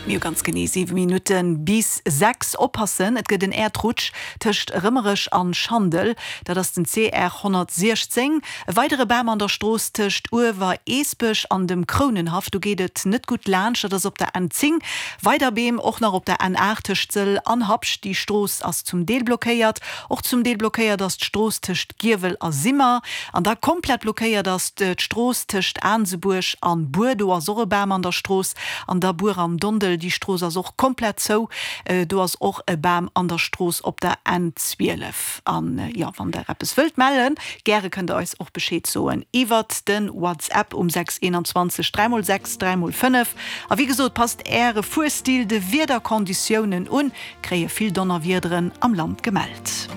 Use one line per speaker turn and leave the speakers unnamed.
Mir hu ganz genee 7 Minutte bis 6. Oppassen, et gëtt en Äerdrutsch tëscht Rëmerech an Schandel, dat ass den CR 116. E weidere Bam an der Strooss tëscht Uewer-Eesbech an dem Krounenhaff, do geet et net gutt laanscht, dat ass op der N10. Weider Beem och nach op der N8 tëscht Sëll an Habscht, déi Strooss ass zum Deel blockéiert. Och zum Deel blockéiert ass d'Strooss tëscht Giewel a Simmer. An da komplett blockéiert ass d'Strooss tëscht Aansebuerg an Buer, do ass och e Bam an der Strooss. An da Buer an Dondel, déi Strooss ass och komplett zou, do ass och e Bam an der Strooss op der N12. An jo, wann der eppes wëllt mellen, gäre kënnt der eis och Bescheed soen iwwert de WhatsApp um 6 21 3 x 6 3 x 5. A wéi gesot, passt äre Fuerstil de Wiederkonditiounen un, kréie vill Donnerwiederen am Land gemellt.